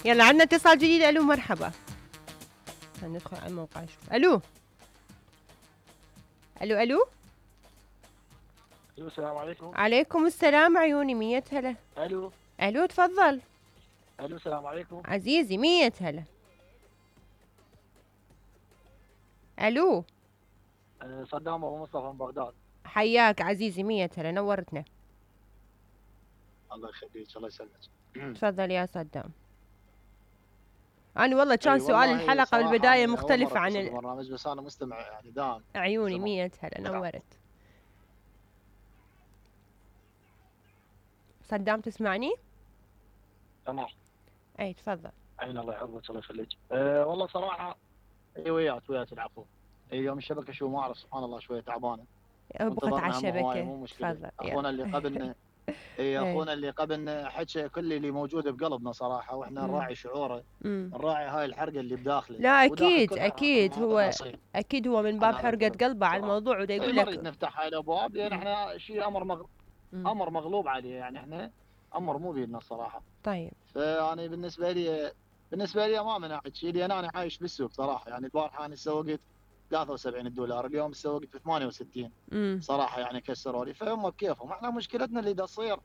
يلا عندنا اتصال جديد. الو مرحبا. ندخل على الموقع نشوف. الو الو الو الو السلام عليكم. عليكم السلام عيوني. 100 هلا. الو الو تفضل. الو السلام عليكم عزيزي. 100 هلا. الو صدام ابو مصطفى من بغداد. حياك عزيزي. 100 هلا. نورتنا. الله يخليك الله يسلمك. تفضل يا صدام. أنا والله كان سؤال والله الحلقة صراحة بالبداية أنا أول مختلف مرة عن أتصل بالبرنامج بس أنا مستمع يعني دائم. عيوني. زمان. 100 هلا. نورت. صدام تسمعني؟ تمام. أي تفضل. عين الله يحفظك الله يخليك. والله صراحة وياك العفو. يوم الشبكة شو ما أعرف سبحان الله شوية تعبانة. بقت على الشبكة. مو مشكلة. تفضل. أخونا اللي قبلنا اخونا اللي قبلنا حكى كل اللي موجود بقلبنا صراحه واحنا نراعي شعوره. نراعي هاي الحرقه اللي بداخله. لا اكيد هو من باب حرقه قلبه على الموضوع ودا يقول لك نريد نفتح هاي الابواب لان احنا شيء امر مغلوب عليه يعني احنا امر مو بيدنا الصراحه. طيب. فيعني بالنسبه لي ما منعت شيء لان انا عايش بالسوق صراحه يعني البارحه انا سوقت $73 اليوم سوقت ب 68 صراحه يعني كسروا لي فهم بكيفهم احنا مشكلتنا اللي دا تصير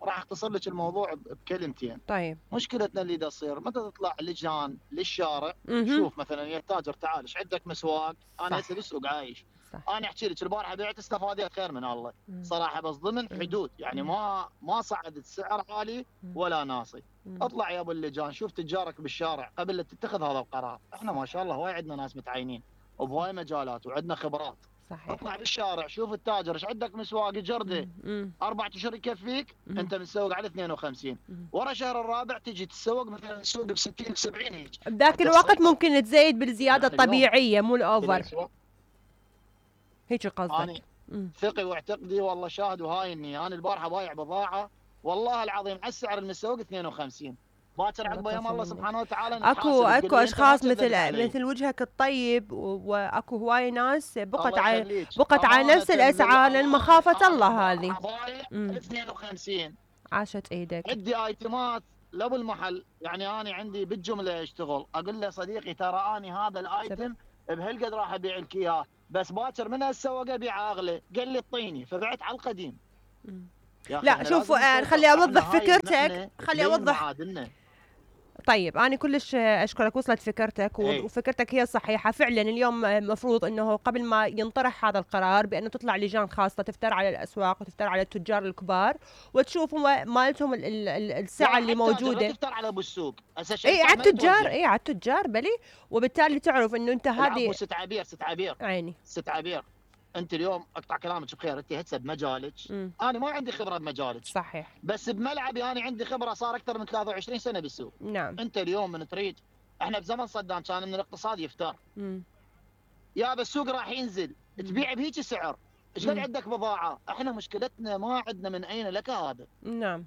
راح اختصر لك الموضوع بكلمتين. طيب. مشكلتنا اللي دا تصير متى تطلع لجان للشارع شوف مثلا يا تاجر تعال ايش عندك مسواق انا هسه بالسوق عايش صح. انا احكي لك البارحه بعت استفاديت خير من الله صراحه بس ضمن حدود يعني ما صعدت السعر عالي ولا ناصي. اطلع يا ابو اللجان شوف تجارك بالشارع قبل لا تتخذ هذا القرار. احنا ما شاء الله هواي عندنا ناس متعينين وبهواي مجالات وعندنا خبرات. صحيح. اطلع بالشارع شوف التاجر ايش عندك مسواق جرده 4 اشهر يكفيك انت مسوق على 52 ورا شهر الرابع تجي تسوق مثلا تسوق ب 60 ب 70 هيك. بذاك الوقت ممكن تزيد بالزياده الطبيعيه مو الاوفر. هيك قصدك. ثقي واعتقدي والله شاهد وهاي اني انا البارحه بايع بضاعه والله العظيم على السعر المسوق 52 باكر عقب يوم الله سبحانه وتعالى اكو اشخاص مثل وجهك الطيب واكو هواي ناس بقت على نفس الاسعار لان مخافه الله هذه. 52 عاشت ايدك. عندي ايتمات لابو المحل يعني انا عندي بالجمله اشتغل اقول له صديقي ترى اني هذا الايتم بهالقد راح ابيع لك اياه بس باكر من السوق ابيعه اغلى قال لي اعطيني فبعت على القديم. لا شوف خلي اوضح فكرتك خلي اوضح. طيب أنا كلش أشكرك وصلت فكرتك وفكرتك هي صحيحة فعلا. اليوم مفروض أنه قبل ما ينطرح هذا القرار بأنه تطلع لجان خاصة تفتر على الأسواق وتفتر على التجار الكبار وتشوف مالتهم السعة اللي موجودة. تفتر على أبو السوق على التجار بلي وبالتالي تعرف أنه أنت هذه ست عبير عيني ست عبير. انت اليوم اقطع كلامك بخير انت هسه بمجالك انا ما عندي خبره بمجالك صحيح بس بملعبي انا عندي خبره صار اكثر من 23 سنه بالسوق. نعم. انت اليوم من تريد احنا بزمن صدام كان من الاقتصاد يفتر يا بالسوق راح ينزل تبيع بهيك سعر ايش قد عندك بضاعه. احنا مشكلتنا ما عندنا من اين لك هذا. نعم.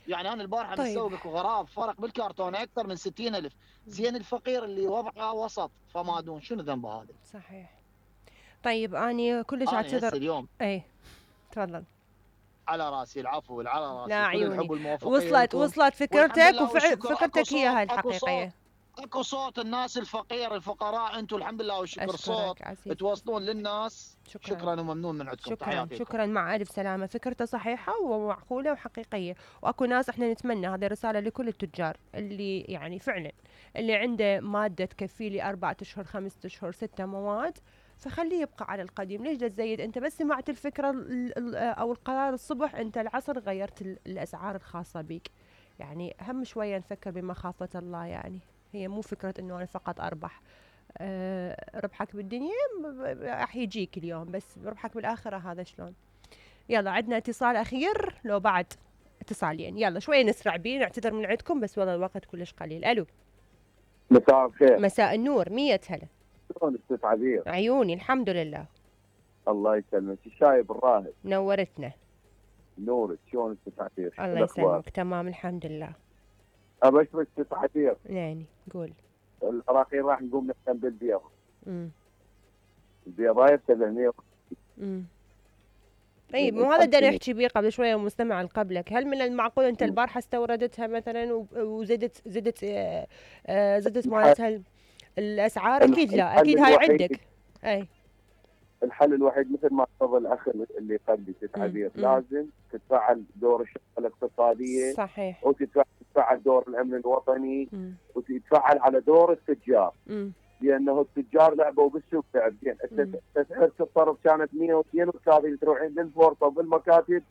يعني انا البارحه مسوقك وغراب فرق بالكرتون اكثر من 60,000 زين الفقير اللي وضعه وسط فما دون شنو ذنبه هذا. صحيح. طيب اني كلش اعتذر اليوم اي تفضل. على راسي العفو على راسي. لا عيوني وصلت فكرتك فكرتك هي هاي الحقيقيه. اكو صوت الناس الفقراء انتم الحمد لله والشكر صوت توصلون للناس. شكرا وممنون من عندكم. شكرا مع الف سلامه. فكرته صحيحه ومعقوله وحقيقيه واكو ناس احنا نتمنى هذه رساله لكل التجار اللي يعني فعلا اللي عنده ماده تكفي لي 4 اشهر 5 اشهر 6 مواد فخليه يبقى على القديم. ليش تزيد؟ انت بس سمعت الفكره او القرار الصبح انت العصر غيرت الاسعار الخاصه بك. يعني هم شويه نفكر بمخافه الله. يعني هي مو فكره انه انا فقط اربح. ربحك بالدنيا راح يجيك اليوم بس ربحك بالاخره هذا شلون. يلا عندنا اتصال اخير لو بعد اتصالين. يلا شويه نسرع بيه نعتذر من عندكم بس والله الوقت كلش قليل. الو مساء الخير. مساء النور. 100 هلا. شلونك ست عبير؟ عيوني الحمد لله. الله يسلمك. الشايب الراهب. نورتنا. نورك. شلونك ست عبير؟ الله يسلمك تمام الحمد لله. ابشرك ست عبير. يعني قول. الاخير راح نقوم نختم بالبيض. البيضايه ب 700. طيب مو هذا بدنا نحكي بيه قبل شويه مستمع قبلك. هل من المعقول انت البارحه استوردتها مثلا زدت مالتها الاسعار؟ اكيد لا، اكيد هاي عندك. اي الحل الوحيد مثل ما تفضل الاخ اللي قبلي عبير، لازم تتفعل دور الشرطه الاقتصاديه، صحيح، وتتفعل دور الامن الوطني، وتتفعل على دور التجار، لانه التجار لعبوا بالسوق لعب زين. تسعيره الصرف كانت 132 تروحين للبورصه وبالمكاتب